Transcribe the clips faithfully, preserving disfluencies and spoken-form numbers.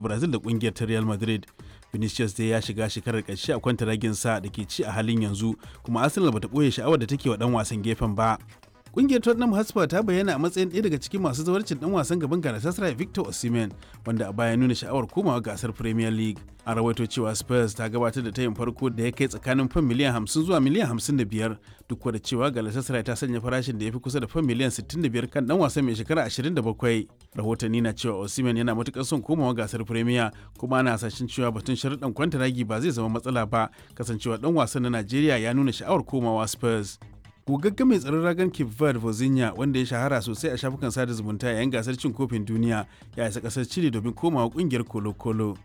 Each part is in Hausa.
Brazil da kungiyar ta Real Madrid. Vinicius dai ya shiga shekarar ƙarshe a kwantaragin sa da ke ci a halin yanzu, kuma Arsenal bata ɓoye sha'awar da take wa ɗan wasan gefen ba. Kungiyar Tottenham Hotspur ta bayyana a matsayin ɗaya daga cikin masu zawarcin ɗan wasan gaban Galatasaray Victor Osimhen, wanda a baya nuna sha'awar komawa gasar Premier League. An rawaito cewa Spurs ta gabatar da tayin farko da ya kai tsakanin fan miliyan hamsin zuwa miliyan hamsin da biyar, duk da cewa Galatasaray ta sanya farashin da ya fi kusa da fan miliyan sittin da biyar kan ɗan wasan mai shekara ashirin da bakwai. Rahotanni na cewa Osimhen yana matuƙar son komawa gasar Premier, kuma ana hasashen cewa batun sharuɗan kwantaragi ba zai zama matsala ba, kasancewa ɗan wasan na Najeriya ya nuna sha'awar komawa Spurs. Gogagge mai tsaron ragan Cape Verde Vozinha, wanda ya shahara sosai a shafukan sada zumunta yayin gasar cin kofin duniya, ya isa kasar Chile domin komawa kungiyar Colo Colo.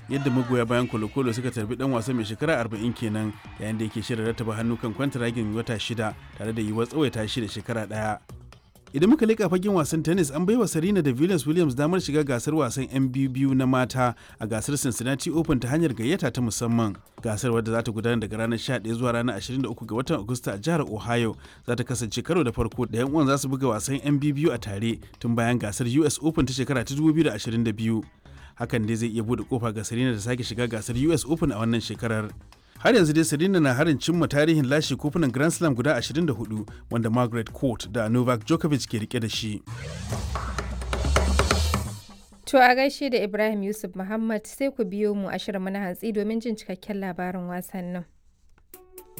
Yadda magoya bayan Colo Colo suka tarbi dan wasa mai shekara arba'in kenan yayin da yake shirin rattaba hannu kan kwantaragin wata shida tare da yiwuwar tsawaita shi da shekara daya. Idan muka leƙa fagen wasan tennis, an baiwa Serena da Venus Williams damar shiga gasar wasan yan biyu na mata a gasar Cincinnati Open ta hanyar gayyata ta musamman. Gasar, wadda za ta gudana daga ranar sha ɗaya zuwa ranar ashirin da uku ga watan Agusta a jihar Ohio, za ta kasance karo da farko da yan uwan za su buga wasan yan biyu a tare tun bayan gasar U S Open ta shekara ta dubu biyu da ashirin da biyu. Hakan dai zai iya bude kofa ga Serena da sake shiga gasar U S Open a wannan shekarar. Har yanzu dai Serena na harin cimma tarihin lashe kofunan Grand Slam guda ashirin da huɗu wanda Margaret Court da Novak Djokovic ke rike da shi. To a gaishe da Ibrahim Yusuf Muhammad. Sai ku biyo mu a shirin na hantsi domin jin cikakken labarin wasannin.